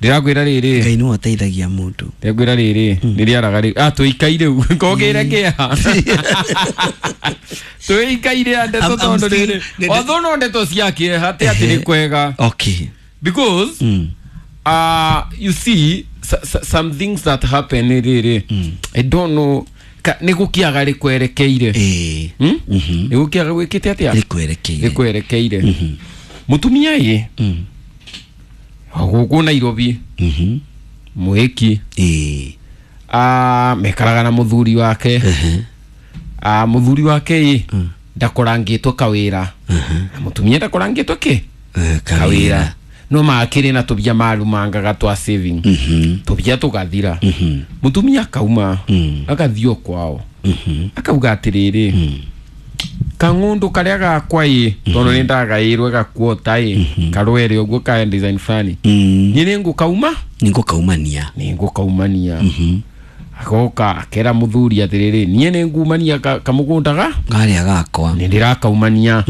Ndĩrakwĩra rĩrĩ. Ngai nĩwe ũteithagia mũndũ. Ndĩrakwĩra rĩrĩ, nĩrĩaraga rĩu. Ah, tũikaire rĩu. Ngogĩre kĩeha. Tũikaire ndeto tondũ rĩrĩ. Although no ndeto cia kĩeha ti atĩ nĩ kwega. Okay. Because you see some things that happen rĩrĩ. I don't know nĩ gũkĩaga rĩkwerekeire. Nĩ gũkĩaga gwĩkĩte atĩa? Rĩkwerekeire. Rĩkwerekeire. Mũtumia ĩ. Gũkũ Nairobi. Mwĩki. Mekaraga na mũthuri wake. Mũthuri wake ĩ ndakorangĩtwo kawĩra. Na mũtumia ndakorangĩtwo kĩ? Kawĩra. No makĩrĩ na tũbia marumangaga twa saving. Tũbia tũgathira. Mũtumia akauma agathiĩ o kwao. Akauga atĩrĩrĩ, kang'ũndũ karĩa gakwa ĩ tondũ nĩ ndagaĩrwe gakuota ĩ karwere ũguo ka design fulani. Niĩ nĩ ngũkauma? Nĩ ngũkaumania. Agoka akera mũthuri atĩrĩrĩ, niĩ nĩ ngumania kamũgũnda ga karĩa gakwa. Nĩ ndĩrakaumania.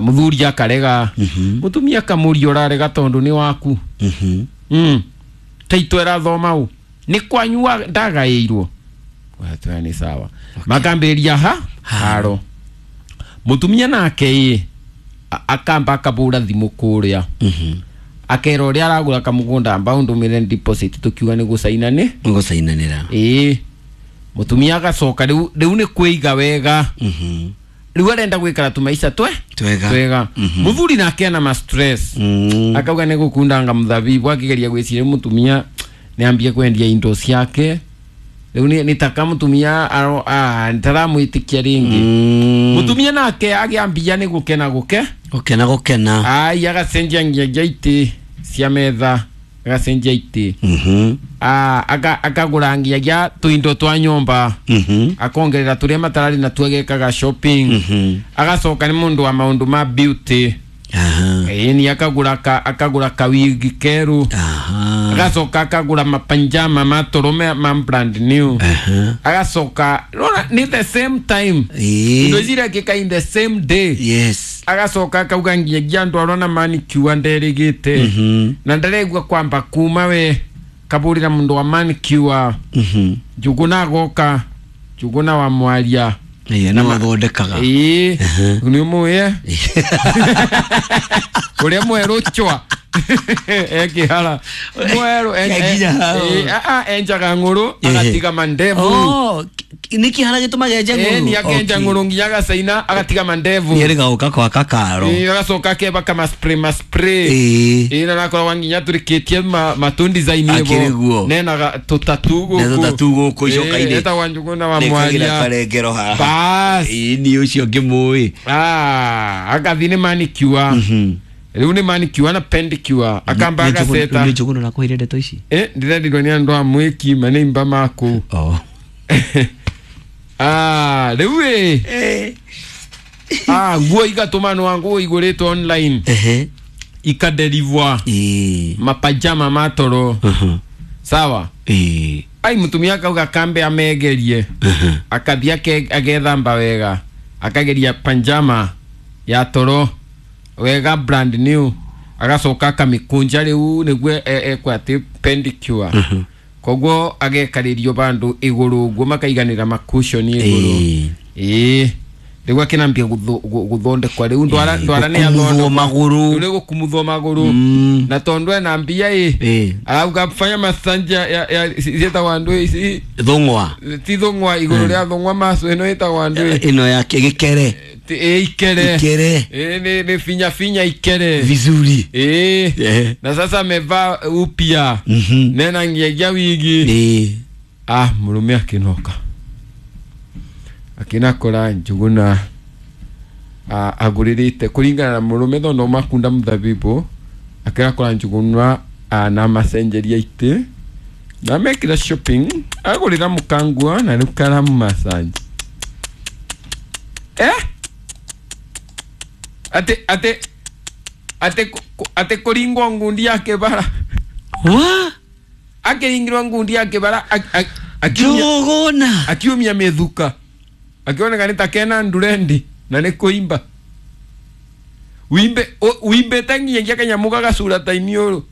Mũthuri akarega. Mũtumia akamũria ũrarega tondũ nĩ waku. Taitũ ĩrathoma ũ. Nĩ kwanyu ndagaĩirwo. Watwaya nĩ sawa. Makambĩrĩria ha haro. Mũtumia nake ĩ akamba akabũra thimũ kũrĩa. Akera ũrĩa aragũra kamũgũnda amba ũndũmĩre deposit tũkiuga nĩ gũcaina nĩ? Gũcainanĩra. Ĩĩ. Mũtumia agacoka rĩu nĩ kwĩiga wega. Rĩu arenda gwĩkara tũmaica twega. Twega. Mũthuri nake ena ma stress. Akauga nĩ gũkundanga mũthabibu akĩgeria gwĩciria mũtumia nĩ ambie kwendia indo ciake. Rĩu nĩ taka mũtumia taramwĩtĩkia rĩngĩ. Mũtumia nake agĩambia nĩ gũkena gũke. Gũkena gũkena. Ai agacenjia nginya itĩ cia metha, agacenjia itĩ. Akagũra nginya tũindo twa nyũmba. Akongerera tũrĩa matararĩ na tuagekaga shopping. Agacoka nĩ mũndũ wa maũndũ ma beauty. Ĩni akagũra kawigi keru. Agacoka akagũra mapanjama matũrũme ma brand new. Agacoka rora ni the same time. Indo ici irekĩka in the same day. Yes. Agacoka akauga nginya andũ arona manicure nderĩgĩte. Na ndaregua kwamba kuma we kabũrĩra mũndũ wa manicure. Njũgũna agoka, Njũgũna wa mwaria. Ĩĩ na mathondekaga. Ĩĩ. Nĩ ũmũĩ? Ũrĩa mwerũ chwa. Ekĩhara. Mwerũ enjaga ng'ũrũ agatiga mandevu. Oh, nĩ kĩhara gĩtũmaga enje ng'ũrũ? Ĩĩ, akenja ng'ũrũ nginya agacaina agatiga mandevu. Nĩ erĩga gũka gwaka karo. Ĩĩ, agacoka akebaka ma spray ma spray. Ĩĩ, na nakoragwo nginya tũrĩkĩtie matũ design ĩbo. Nena tũtatu gũkũ. Na tũtatu gũkũ icoka-inĩ. Etagwo Njũgũna wa Mwaria. Karengero haha. Bas. Ĩĩ, niĩ ũcio ngĩmũĩ. Agathiĩ nĩ manicure. Rĩu nĩ manicure na pedicure. Akamba agaceta. Nĩ Njũgũna ũrakũheire ndeto ici? Ndĩrendirwo nĩ andũ a mwĩki manĩimba maku. Rĩu ĩ. Nguo igatũmanwo nguo igũrĩtwo online. Ikaderivwa. Mapajama matoro. Sawa? Ai mũtumia akauga kambe amegerie. Akathiĩ agethamba wega. Akageria panjama ya toro wega brand new. Agacoka akamĩkũnja rĩu nĩguo ekwo atĩ pedicure. Koguo agekarĩrio bandũ igũrũ ũguo makaiganĩra makushoni igũrũ. Ĩĩ. Rĩu akĩnambia gũthondekwa rĩu ndwara nĩ athondekwo magũrũ. Rĩu nĩ gũkumuthwo magũrũ. Na tondũ ena mbia ĩ. Arauga fanya masanja ya ciĩtagwo andũ ici. Thũng'wa. Ti thũng'wa igũrũ rĩa thũng'wa macu ĩno ĩtagwo andũ ĩ. Ĩno ya gĩkere. Ĩ ikere. Ikere. Ĩ nĩ finya finya ikere. Vizuri. Ĩ. Na sasa amevaa upya. Nena nginya wigi. Mũrũme akĩnoka. Akinakora Njũgũna agũrĩrĩte kũringana na mũrũme tondũ makunda mũthabibũ. Akinakora Njũgũna na macenjeria itĩ na mekĩra shopping agũrĩra mũkangua na rĩu karamu massage. Ate kũringwo ngundi ya kĩbara. Wa? Akĩringirwo ngundi ya kĩbara Njũgũna akiumia mĩthuka. Akioneka nĩ ta kena ndurendi na nĩ kũimba. Wimbĩte nginyagia kanyamũ gagacura ta iniũrũ.